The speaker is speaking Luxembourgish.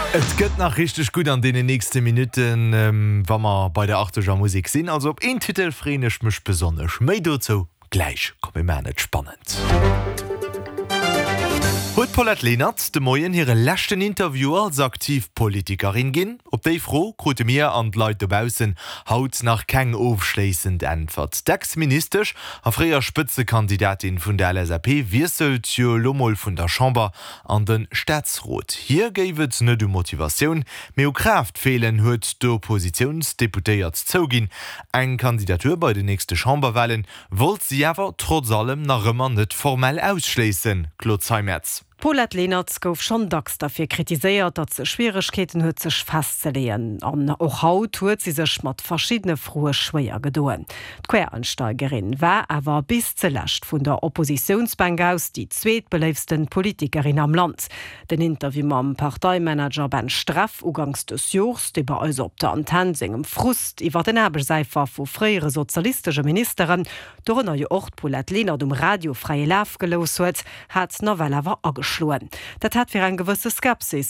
Et gëtt nach richteg gutt an deenen nächste Minutten, wa mer bei der Achteger Musek sinn. Also op een Titel freeën ech mech besonnesch. Méi dozou gläich. Komm mir maachen et spannend. Huet d'Paulette Lenert de Moien hire leschten Interview als aktiv Politikerin ginn? Op déi Fro krute mir an d'Leit dobaussen haut nach keng ofschléissend Äntwert. D'Ex-Ministesch a fréier Spëtzekandidatin vun der LSAP wiesselt jo elo mol vun der Chamber an de Staatsrot. Hir géif et net u Motivatioun, mee u Kraaft feelen, huet d'Oppositiounsdeputéiert zouginn. Eng Kandidatur bei den nächste Chamberwahlen wollt si awer trotz allem nach ëmmer net formell ausschléissen. Claude Zeimetz. D'Paulette Lenert gouf schonn dacks derfir kritiséiert, datt se Schwieregkeeten huet sech festzeleeën. An och haut huet si sech mat verschiddene Froe schwéier gedoen. D'Quereinsteigerin war awer bis ze lescht vun der Oppositiounsbänk aus déi zweetbeléiftsten Politikerin am Land. Den Interview mam Parteimanager Ben Streff uganks dës Jors, dee bei eis op der Antenn sengem Frust iwwer den Aarbechtsäifer vu fréiere sozialistesche Ministeren, dorënner jo och d'Paulette Lenert, um Radio fräie Laf gelooss huet, hat nawell awer ageschloen. Dat hat fir eng gewësse Skepsis.